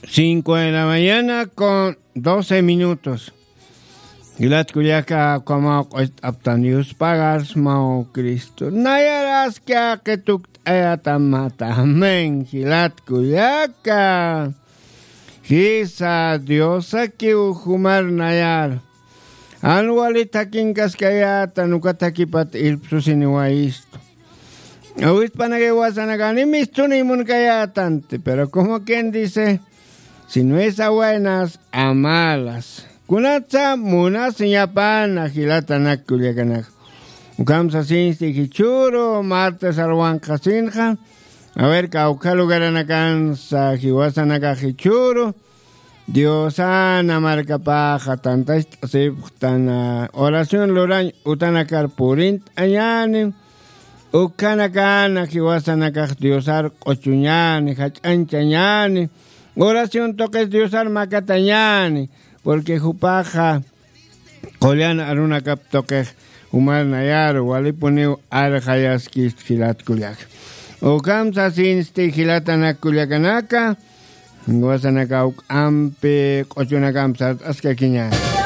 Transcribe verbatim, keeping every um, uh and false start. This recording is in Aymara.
Cinco de la mañana con doce minutos. Jilat kullaka, kamaw q'ucht'aptan Dios pagas maw Cristo nayaraski aqituk t'ayatamata. Amén. Jilat kullaka, jisa Diosakiw jumar nayar. Jan wali thakinkaskayätan, uka thakipat irpsusiniwayistu. Awispanakay wasanakani mistuniy munkayätanti, pero como quien dice, si no es a buenas, a malas. Kunatsa munasiñapana jilatanak kullakanaka. Ukham sasinsti jichhüru martes alwanqhasinxa. A ver, kawkha lugaranakansa jiwasanakax jichhüru Diosana markapaxa tantacht'asipxtana oración lurañ utanakar purint'añäni. Ukhanakana jiwasanakax Diosar q'uchuñäni, jach'añchañäni. Oración tuqis Diosar makatañäni, porque jupaxa qullan arunakap tuqix jumar nayaru walipuniw arxayaskistu jilat kullaka. Ukham sasinsti jilatanak kullakanaka, jiwasanaka juk'ampi q'uchunakamp sart'askakiñäni.